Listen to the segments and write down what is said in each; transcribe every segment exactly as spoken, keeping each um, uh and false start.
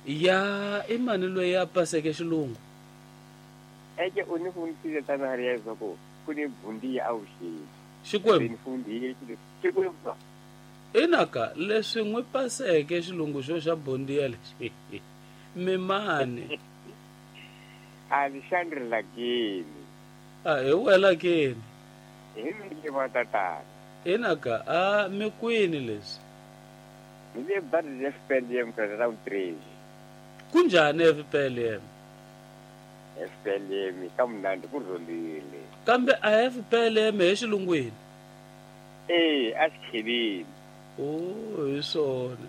Ya i mani loyi a paseke xilungu? Eke u ni fundisile tana ri leswaku ku ni bundiya avuxeni. Xikwembu ni fundile Xikwembu. Inaka leswi n'wi paseke xilungu xo xa bondiya lexi. Mimani. Alexandre Lageni. A hi wela keni. Hi mi va tatana. Inaka a mi kwini leswi? Mi le bari F P L M ka round three. Kunjhani F P L M? F P L M ka mnandi ku rholile. Kambe a F P L M hi xilungwini? Eh, a xikheleni. Oh, hi swona.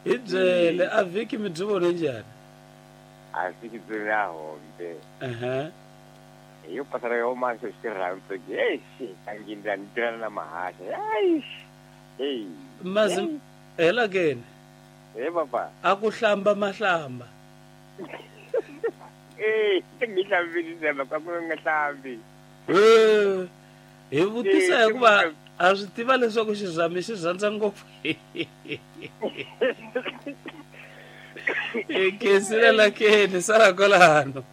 Hi byele a vhiki mi byi vone njhani? A vhiki byi ri hombe. Ehe. Hi yo pasara yo mahlo xirhambo ke. Hey, xi ni tirhana na mahasha. Hey. Hey. Mazi hela keni. Hey papa. A ku hlamba mahlamba. Eh, ngi hlambile ka ku nga hlambi. Eh. Hi vutisa hikuva a swi tiva leswaku xirhami xi rhandza ngopfu. E khensile la keni sala kwalano.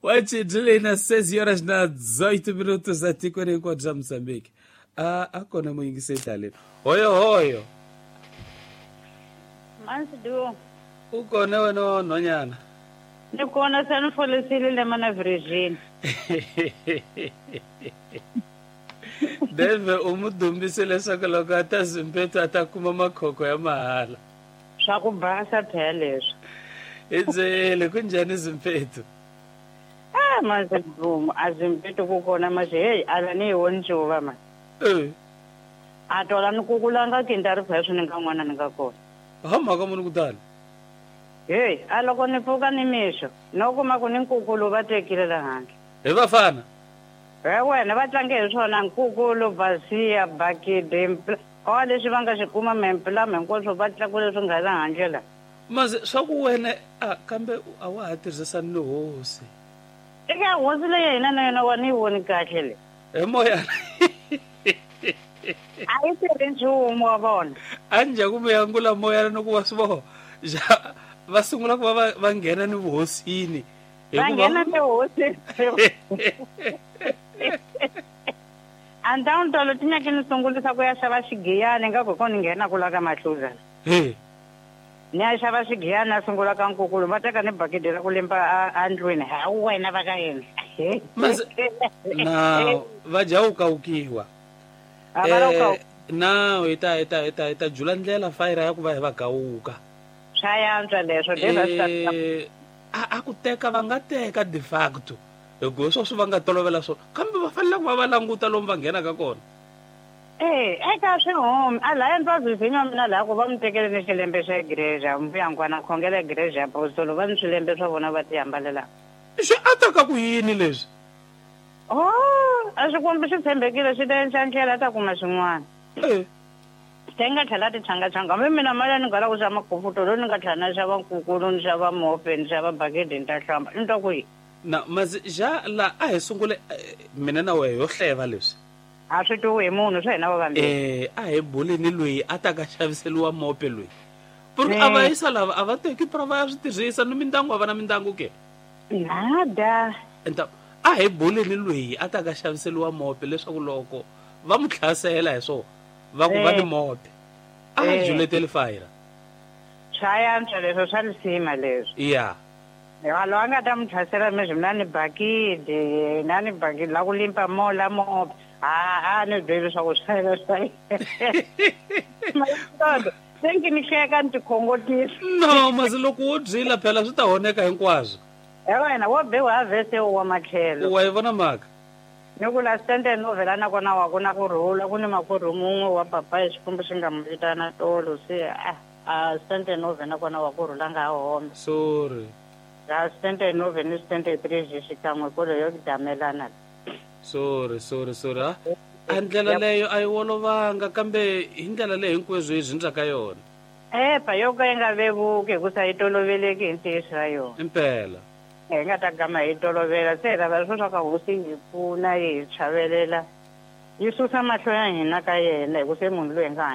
Wachi na seis horas na dezoito minutos atikweni hinkwabyo bya Mozambique. A a kona muyingiseli taleni. Hoyo hoyo. Mansidu. U kona wena nhwanyana? Ni kona se ni folisile le mana Virgin. Deve u mu dumbise leswaku loko a ta Zimbabwe a ta kuma makhokho ya mahala. Swa ku basa phela leswi. Hi byele ku njhani Zimbabwe? Ah, Mansidu, a Zimbabwe ku kona manje hey ala ni woni ncuva ma. Eh. A tola ni kukulanga kinta ri phela ni nga n'wana ni nga kona. Ha mhaka muni kutani? Hey, a loko ni pfuka ni mixo, no kuma ku ni nkukulu va tekile la handle. Hi vafana? He wena va tlange hi swona nkukulu, basiya, bakidi, o leswi va nga xi kuma mempilama hinkwaswo va tlakule swi nga la handle la. Maze swa ku wena a kambe a wa ha tirhisani ni hosi. Eka hosi leyi hina na yona wa ni yi voni kahle le. Hi moya. A yi tirhi nchumu wa vona. A njhaku mi angula moya ni ku wa swi vona. Va sungula ku va va nghena ni vuhosini. Va nghena ni vuhosini. A ndhawu tolo ti nyake ni sungulisa ku ya xava xigiyani nga ku ko ni nghena ku la ka Mahluza. He. Ni ya xava xigiyani a sungula ka nkukulu va teka ni bakidi ra ku limba a ndlwini. Ha wena va ka yena. Mas na va jawukawukiwa. Eh na hi ta hi ta hi ta hi ta jula ndlela fayira ya ku va hi va gawuka. Swa yantswa leswo eh a a ku teka va nga teka de facto hikuva sweswo va nga tolovela swona kambe va fanele ku va va languta lomu va nghenaka kona. Eh eka swihumi a laya ndzi va vivinya mina laha ku va mi tekele ni xilembe xa igreja mbuyangwana khongela igreja apostolo va ni swilembe swa vona va ti hambalela. Swi ataka ku yini leswi? Oh, a xikwembu xi tshembekile xi ta endla ndlela ta kuma xin'wana. Eh. Ti nga tlhela ti changachanga hambi mina mali ni nga lava ku xava makufutolo ni nga tlhela na xava nkukulu ni xava mope ni xava bakidi ni ta hlamba ni twa ku yi. Na mazi ja la a hi sungule mina na wehe yo hleva leswi. A swi twiwi hi munhu swa hina va vambirhi. Eh a hi buleni loyi a ta ka xaviseliwa mope loyi. Porque a va yisa lava a va teki pra va ya swi tirhisa ni mindyangu a va na mindyangu ke. Nada. Enta a hi buleni loyi a ta ka xaviseliwa mope leswaku loko va mu tlhasela hi swona va ku va ni mope a juleteli fayira. Swa yantswa leswo swa lisima leswi. Ya. Loyi a nga ta mu tlhasela meswi mina ni bakidi na ni bakidi la ku limpa mo la mope a a ni byeli swa ku swa yena swa yena. Se ngi ni hleka ni tikhongotisa. No masi loko wo byila phela swi ta honeka hinkwaswo. He wena wo biwa ha vhese wa matlhelo. Wa yi vona mhaka? Ni ku la stende no vhela na kona wa ku na ku rhula ku ni makwerhu mun'we wa papa hi Xikwembu xi nga mu vitana tolo se a a stende no vhela na kona wa ku rhula nga hombe. Sorry. La stende no vhela ni stende three xikan'we kolo yo damelana. Sorry sorry sorry. A ndlela leyo a yi olovanga kambe hi ndlela leyi hinkweswo hi zindzaka yona. Eh pa yo ka yi nga vevuki hikusa yi toloveleki hi ntiyiso wa yona. Impela. Hi nga ta gama hi tolovela se hi lava leswo swa ka hosi hi pfuna yi hi chavelela yi susa mahlo ya hina ka yena hi ku se munhu loyi hi nga